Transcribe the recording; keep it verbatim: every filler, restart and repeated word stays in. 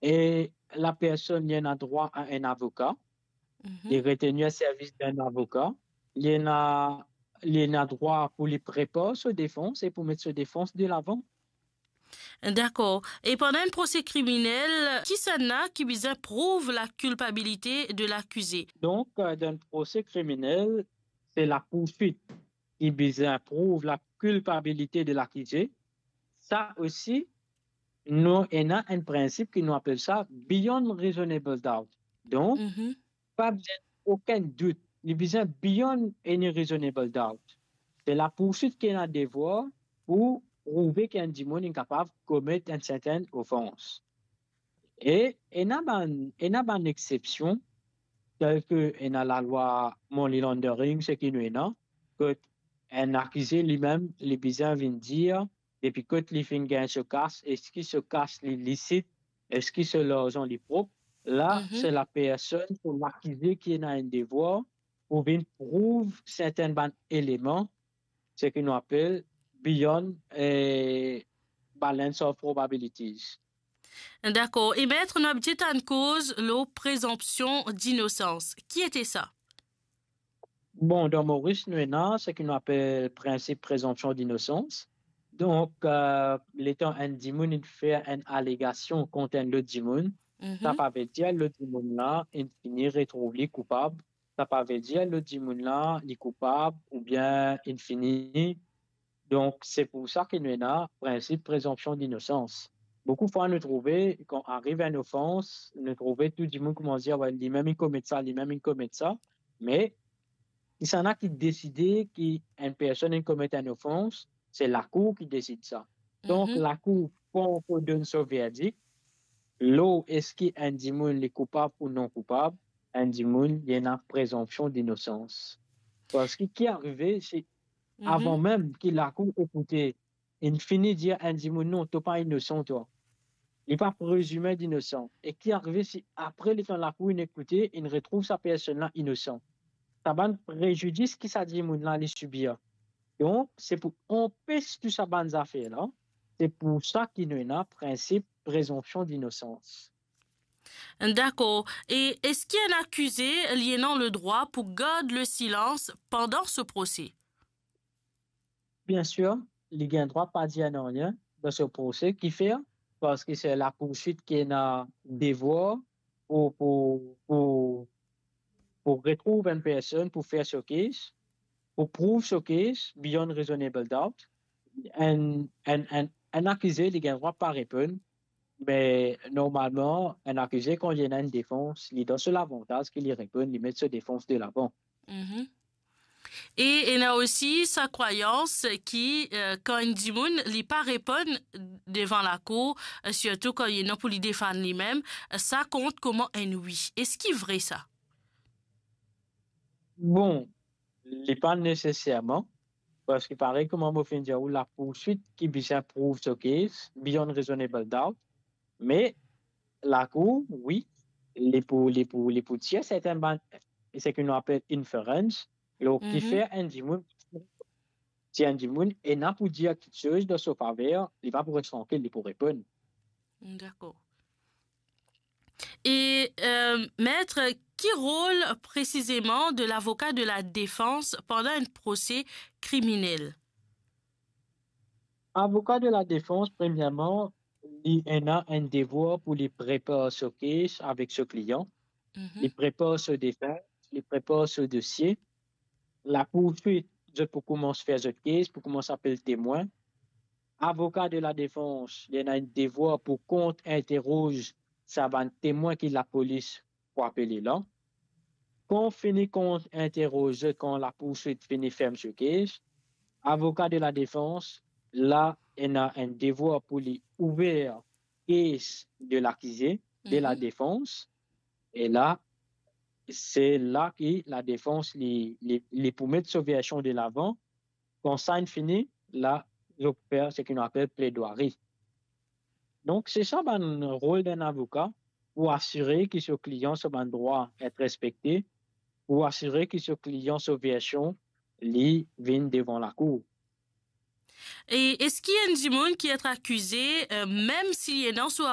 e lapersonn li ena drwa a enn avoka, li retenir servis d'un avoka, li ena, li ena drwa pou li prepar so defans e pou met so defans de lavan. Dakor. E pandan enn prose kriminel, kisannla ki bizin prouv lakilpabilite de lakize? Donk, euh, dan enn prose kriminel, se lapourswit ki bizin prouv lakilpabilite de lakize. Sa osi, nou ena enn prinsip ki nou apel sa beyond reasonable doubt. Donk, pa bizin okenn dout. Li bizin beyond any reasonable doubt. Se lapourswit ki ena devwar pou prouve ki enn dimoun inn kapav komet enn sertenn ofans. E ena bann, ena bann exsepsion, tel ki ena lalwa money laundering, seki nou ena, kot enn akize limem, li bizin vinn dir, depi kot li finn gagn so kas, eski so kas li lisit, eski so larzan li prop. La, se lapersonn, so lakize ki ena enn devwar pou vinn prouv sertenn bann eleman, seki nou apel beyond, eh, balance of probabilities. Dakor. E met, nou abitie tann koz lor prezonpsion dinosans. Ki ete sa? Bon, dan Moris, nou ena seki nou apel prinsip prezonpsion dinosans. Donk, euh, letan enn dimoun inn fer enn alegasion kont enn lot dimoun, sa pa ve dir lot dimoun la inn fini retrouv li koupab. Sa pa ve dir lot dimoun la, li koupab oubien inn fini. Donk, se pou sa ki nou ena prinsip prezonpsion dinosans. Boukou fwa, nou trouve, kan ariv enn ofans, nou trouve tou dimoun koumans dir, "Wey, limem inn komet sa, limem inn komet sa." Me, kisannla ki deside ki enn personn inn komet enn ofans, se lakour ki desid sa. Donk, lakour pankor donn so verdik, lor eski enn dimoun li koupab ou non koupab, enn dimoun li ena prezonpsion dinosans. Parski ki arive, se avan mem ki lakour ekoute, inn fini dir enn dimoun, "Non, to pa inosan, twa." Li pa prezime dinosan. E ki arive si apre letan lakour inn ekoute, inn retrouv sa personn la inosan? Sa bann prezidis ki sa dimoun la li sibir. Donk, se pou anpes tou sa bann zafer la, se pou sa ki nou ena prinsip prezonpsion dinosans. Dakor. E eski enn akize li ena ledrwa pou gard lesilans pandan so prose? Biensir, li gagn drwa pa dir nanye dan so prose. Kifer? Parski se lapourswit ki ena devwar pou, pou, pou, pou retrouv enn personn pou fer so case, pou prouv so case beyond reasonable doubt. Enn, enn, enn, enn akize, li gagn drwa pa reponn, me normalman, enn akize, kan li ena enn defans, li dan so lavantaz ki li reponn, li met so defans de lavan. E ena osi sa krwayans ki, eh, kan enn dimoun li pa reponn devan lakour, eh, sirtou kan li ena pou li defann limem, eh, sa kont kouma enn wi. Eski vre sa? Bon, li pa neseserman, parski parey kouma mo finn dir ou, lapourswit ki bizin prouv so case beyond reasonable doubt, me lakour, wi, li pou, li pou, li pou tir sertenn bann, seki nou apel inference, lor kifer enn dimoun, si enn dimoun ena pou dir kiksoz dan so faver, li pa pou res trankil, li pou reponn. Dakor. E, eh, met, ki rol presizeman de lavoka de ladefans pandan enn prose kriminel? Avoka de ladefans, premierman, li ena enn devwar pou li prepar so case avek so klian, li prepar so defans, li prepar so dosie. Lapourswit, zot pou koumans fer zot case, pou koumans apel temwin. Avoka de ladefans, li ena enn devwar pou kont-interoz sa bann temwin ki lapolis pou apele la. Kan fini kont-interoz zot, kan lapourswit fini ferm so case, avoka de ladefans, la, ena enn devwar pou li ouver case de lakize, de ladefans. E la, se la ki ladefans li, li, li pou met so version de lavan. Kan sa inn fini, la, zot pou fer seki nou apel pledwari. Donk, se sa bann rol d'un avoka, pou asire ki so klian so bann drwa et respekte, pou asire ki so klian so version li vinn devan lakour. E eski enn dimoun ki et akize, eh, mem si li ena so